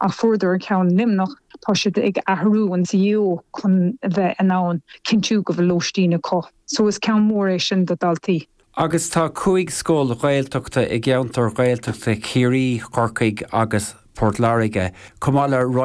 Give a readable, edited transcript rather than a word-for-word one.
Ach fuaireadar an ceann i Luimneach, tá siad ag athrú an CAO chun a bheith in ann cinntiú go bhfuil lóistín acu. So is ceann mór é sin do daltaí. Agus tá 5 scoil Ghaeltachta i gceantar Ghaeltachta Chiarraí, Chorcaigh agus Port Láirge, chomh maith le roinnt.